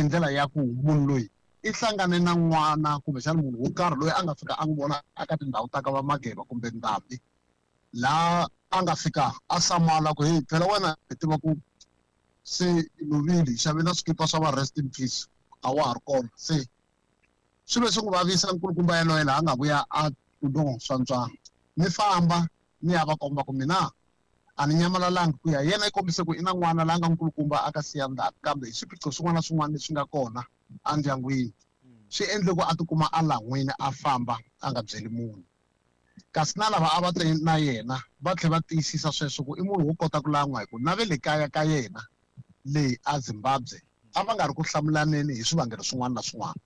ndlela ya ku munhu loyi i hlangane na n'wana kumbexana munhu wo karhi loyi a nga fika a n'wi vona eka tindhawu ta ka va Mageba kumbe Ndhambi, laha a nga fika a hlamala ku heyi phela wena hi tiva ku se i lovile, hi xave na swikipa swa va rest in peace, a wa ha ri kona. Se swi ve swi n'wi vavisa nkulukumba yaloye laha a nga vuya a ku no swantswa ni famba ni ya va komba ku mina a ni nyamalalangi, ku ya yena i kombise ku i na n'wana la nga nkulukumba a ka siya ndzhaku, kambe hi swiphiqo swin'wana na swin'wana leswi nga kona endyangwini swi endle ku a tikuma a lan'wini a famba a nga byeli munhu. Kasi na lava a va te na yena va tlhela va tiyisisa sweswo ku i munhu wo kota ku lan'wa, hi ku na ve le kaya ka yena leyi a Zimbabwe a va nga ri ku hlamulaneni hi swivangelo swin'wana na swin'wana.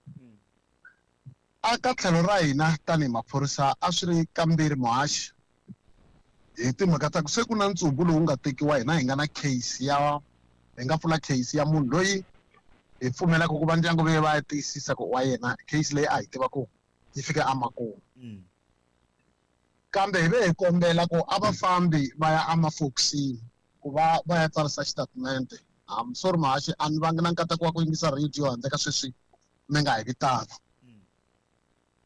A ka tlhelo ra hina tanihi maphorisa a swi ri kambirhi muhaxi hi timhaka ta ku se ku na ntsumbu lowu nga tekiwa, hina hi nga na case ya hi nga pfula case ya munhu loyi hi pfumelaka ku va ndyangu ve va ya tiyisisa ku wa yena, case leyi a hi tiva ku yi fika emakumu. Kambe hi ve hi kombela ku a va fambi va ya emafokisini ku va va ya tsarisa xitatimende. I'm sorry muhaxi, a ni vangi na nkateko wa ku yingisa radio handle ka sweswi mi nga hi vitana.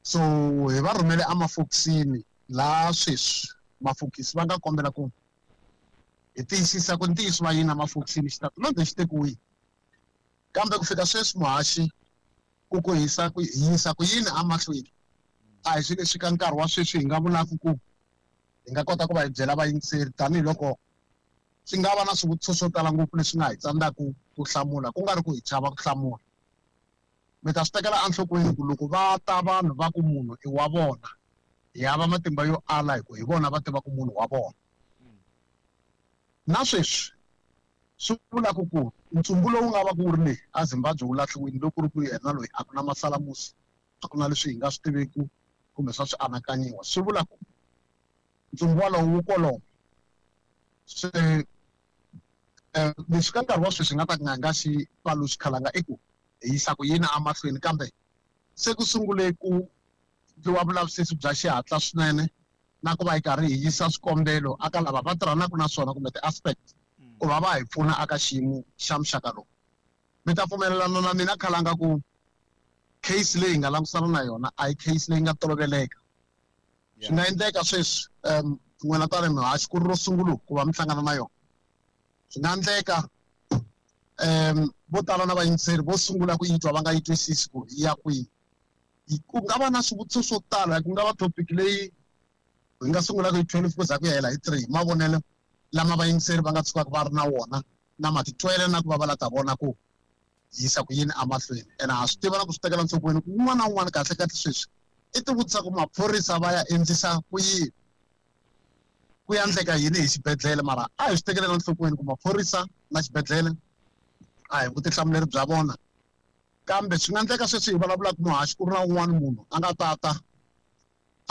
So hi va rhumele emafokisini laha sweswi mafokisi va nga kombela ku hi tiyisisa ku ntiyiso va yini emafokisini, xitatimende xi tekiwile. Kambe ku fika sweswi muhaxi, ku ku hisa ku yisa ku yini emahlweni a hi swilo leswi ka nkarhi wa sweswi hi nga vulaka ku hi nga kota ku va hi byela vayingiseri, tanihiloko swi nga va na swivutiso swo tala ngopfu leswi nga hi tsandzaka ku hlamula, ku nga ri ku hi chava ku hlamula. Mi ta swi tekela enhlokweni ku loko va ta vanhu va ku munhu i wa vona, hi hava matimba yo ala hi ku hi vona va tivaka munhu wa vona. Na sweswi swi vulaka ku ntsumbu lowu nga va ku wu ri le a Zimbabwe wu lahliwile, loko ku ri ku yena loyi a ku na masalamusi, a ku na leswi hi nga swi tiveki kumbe swa swi anakanyiwa, swi vula ku ntsumbu walowo wu kolomo. Se leswi ka nkarhi wa sweswi hi nga ta nga nga xi paluxi khalanga i ku hi yisa ku yini emahlweni, kambe se ku sungule ku endliwa vulavisisi bya xihatla swinene na ku va hi karhi hi yisa swikombelo aka lava va tirhanaka na swona kumbe ti-aspect ku va va hi pfuna aka xiyimo xa muxaka lowu. Mi ta pfumelelana na mina khalanga ku case leyi hi nga langutisana na yona a hi case leyi nga toloveleka. Swi nga endleka sweswi n'wina tanihi muhaxi ku ri ro sungula ku va mi hlangana na yona. Swi nga endleka vo tala na vayingiseri vo sungula ku yi twa va nga yi twisisi ku yi ya kwihi. Ku nga va na swivutiso swo tala, ku nga va topic leyi hi nga sungulaka hi 12 ku za ku ya hela hi 3, mavonelo lama vayingiseri va nga tshukaka va ri na wona na matitwele na ku va va la ta vona ku yisa ku yini emahlweni. Ene ha swi tiva na ku swi tekela nhlokweni ku un'wana na un'wana kahle kahle sweswi i tivutisa ku maphorisa va ya endlisa ku yini, ku ya endleka yini hi xibedhlele. Mara a hi swi tekelela nhlokweni ku maphorisa na xibedhlele a hi vutihlamuleri bya vona, kambe swi nga endleka sweswi hi vulavulaka muhaxi ku ri na un'wana munhu a nga tata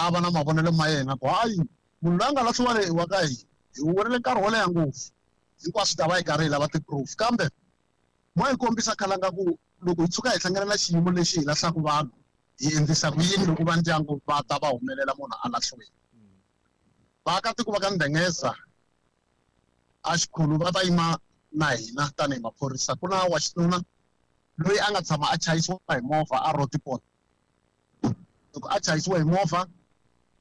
a va na mavonelo ma yena ku hayi munhu loyi a nga lahliwa leyi wa ka hina hi wu vonile nkarhi wo leha ngopfu, hinkwaswo ta va hi karhi hi lava ti-proof. Kambe mo hi kombisa khalanga ku loko hi tshuka hi hlangana na xiyimo lexi hi lahlaka vanhu hi endlisa ku yini loko va ndyangu va ta va humelela munhu a lahliwile. Vaakatiko va ka Ndengeza a xikhulu va ta yima na hina tanihi maphorisa. Ku na wa xinuna loyi a nga tshama a chayisiwa hi movha a Roodepoort. Loko a chayisiwa hi movha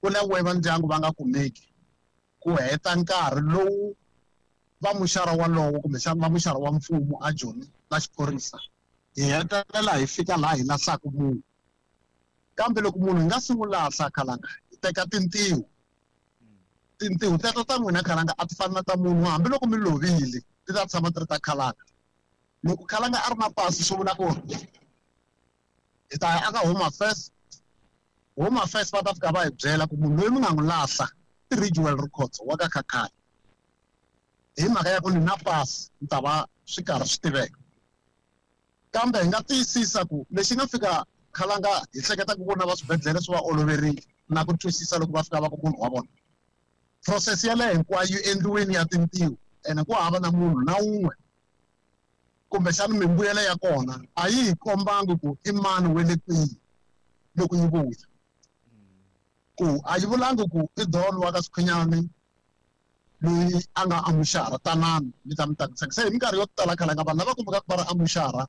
ku langiwe va ndyangu va nga kumeki ku heta nkarhi lowu va muxara walowo kumbexana va muxara wa mfumo a Joni na xiphorisa, hi hetelela hi fika laha hi lahlaka munhu. Kambe loko munhu hi nga si n'wi lahla khalanga, hi teka tintiho. Tintiho teto ta n'wina khalanga a ti fani na ta munhu, hambiloko mi lovile ti ta tshama ti ri ta khalanga. Loko khalanga a ri na pasi swi vula ku hi ta ya aka Home Affairs. Home Affairs va ta fika va hi byela ku munhu loyi mi nga n'wi lahla i Ridgewell Rikhotso wa ka Khakhani. Hi mhaka ya ku ni na pasi ni ta va swi karhi swi tiveka. Kambe hi nga tiyisisa ku lexi nga fika khalanga hi hleketa ku vona va swibedhlele swi va oloverile na ku twisisa loko va fika va ku munhu wa vona. Process yaleyo hinkwayo yi endliwile ya tintiho, ene ku hava na munhu na wun'we kumbexana mimbuyelo ya kona a yi hi kombangi ku i mani wa le kwihi loko yi vuya. Ku a yi vulangi ku i Don wa ka Swikhwinyani loyi a nga amuxara, tanani mi ta mi ta. Se hi minkarhi yo tala khalanga vanhu lava kumekaka va ri amuxara